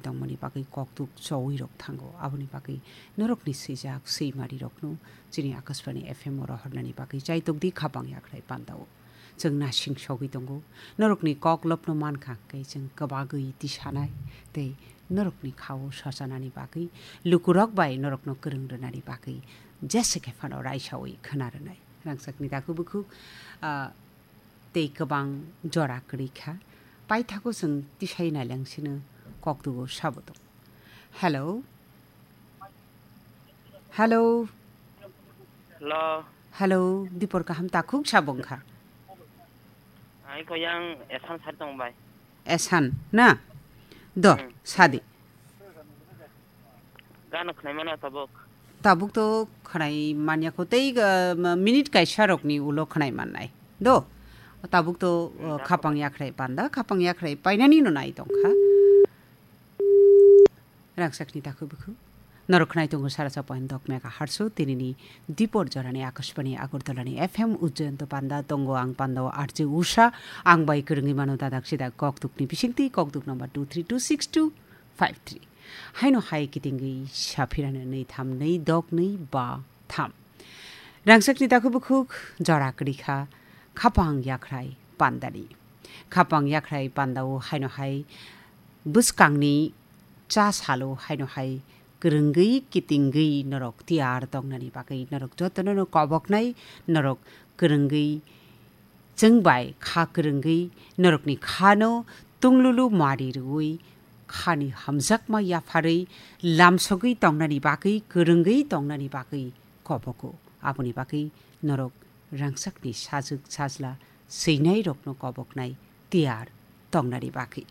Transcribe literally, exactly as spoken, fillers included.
tongmani bagwi kokduk chowi rok thango. Aboni bagwi norokni swijak swimarirokno chini Akashbani F M o rohornani bagwi chaitok di khapang yakhrai pandao. Chwng nasing sogwi tongo. Norokni kok lopno mankha hwnkhe chwng kwbagwi tisanai tei norokni khao sachanani bagwi lukurok bai norokno kwrwng rwnani bagwi jesa khe phano raisawi khna rwnai. Rangchakni takhuk bukhuk, ah, tei kwbang jora kwrwi kha. Paithago chwng tisai nailangsino kokdugo sabo tong. Hello? Hello? Hello. Hello, Dipor kaham takhuk sabo wngkha. Ai ko yang esan sar tong bai. Esan, na? Do, Hmm. Sadi. Gana khwnai mano tabuk. Tabuk to khwnai manya ko tei, uh, ma-, minute kaisa rokni ulo khwnai mannai. Do, tabuk to, uh, Hmm, khapang yakhrai panda, khapang yakhrai painani no nai tongkha. Rangchakni takhuk bukhuk. Norok khwnai tongo sara sa point dok mega hertz o tinini Dipor jorani Akashbani Agartala ni F M Ujjayanto panda tongo ang panda o R J Usha ang bai kwrwngwi mano dadak sidak kokduk ni bisingtwi kokduk number two three two six two five three. Haino hai kitingwi saphirano nwi tham nwi dok nwi ba tham. Rangchakni takhuk bukhuk jora kwrwi kha khapang yakhrai pandani. Khapang yakhrai pandao haino hai bwskangni cha salo haino hai kwrwngwi kitingwi norok tiyar tongnani bagwi norok jotono no koboknai norok kwrwngwi chwng bai kha kwrwngwi norokni khano tunglulu mari rwui khani hamjakma yapharwi lamsogwi tongnani bagwi kwrwngwi tongnani bagwi kobogo. Aboni bagwi norok rangchakni sajwk sajla swinairokno koboknai tiyar tongnani bagwi.